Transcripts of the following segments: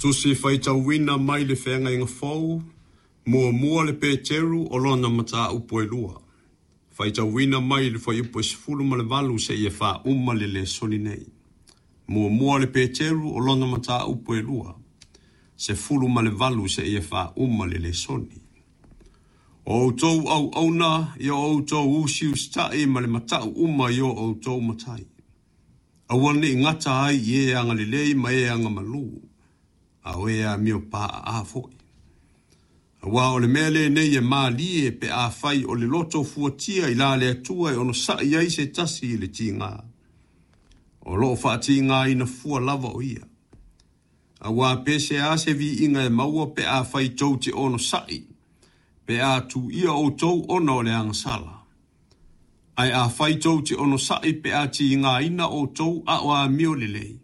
Tusi faitauina mai le Feagaiga Fou, Muamua le Peteru o lona mataupu e lua. Faitauina mai le fuaiupu e 18 seia faauma le lesoni nei. Muamua le Peteru o lona mataupu e lua, 18 seia faauma le lesoni. O outou auauna, ia outou usiusita'i ma le mata'u uma i o outou matai. Aua ne i gata ai i e agalelei ma e agamalu, a o e amio paaa foi. Aua o le mea lenei e malie pe afai o le loto fuatia i la le Atua e onosa'i ai se tasi i le tiga. O lo o faatigaina fua lava o ia. Aua pe se a se viiga e maua pe afai tou te onosa'i, pe a tuuia outou ona o le agasala. Ae afai tou te onosa'i pe a tigaina outou a o amio lelei,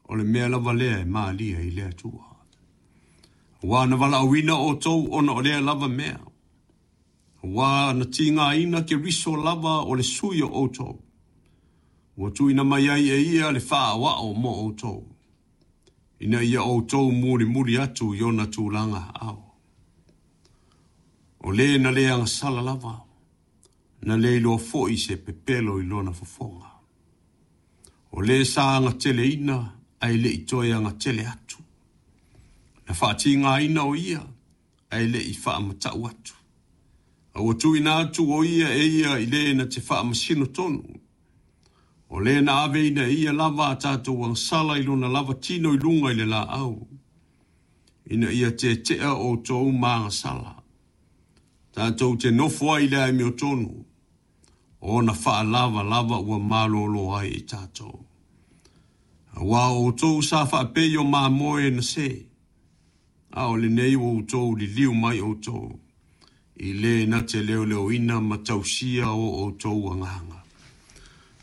o le mea lava lea e malie i le Atua. Aua na valaauina outou ona o lea lava mea. Aua na tigaina Keriso lava o le sui o outou. Ua tuuina mai ai e ia le faaoao mo outou, ina ia outou mulimuli atu i ona tulaga aao. O le na le agasala lava, na le iloa foi se pepelo i lona fofoga. O le sa agateleina ae le i toe agatele atu. Na faatigaina o ia ae le i faamata'u atu. A ua tuuina atu o ia e ia i le na te faamasino tonu. O le na aveina e ia lava a tatou agasala i lona lava tino i luga i le laau, ina ia tetea outou ma agasala. Tatou te nofo ai i le amiotonu, ona faalavalava ua malolo ai i tatou. Aua o outou sa faapei o mamoe na se, a o lenei ua outou liliu mai outou, i le na te leoleoina ma tausia o outou agaga.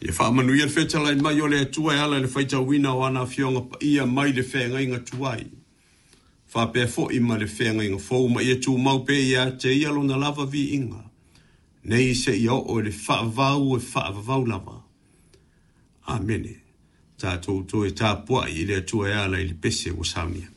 Ia faamanuia le fetalai mai o le Atua e ala i le faitauina o ana afioga paia mai le feagaiga tuai, faapea foi ma le feagaiga fou, ma ia tumau pea ia te ia lona lava viiga, nei seia oo i le faavavau e faavavau lava. Amene. Tatou toe tapuai i le Atua e ala i le pese ua saunia.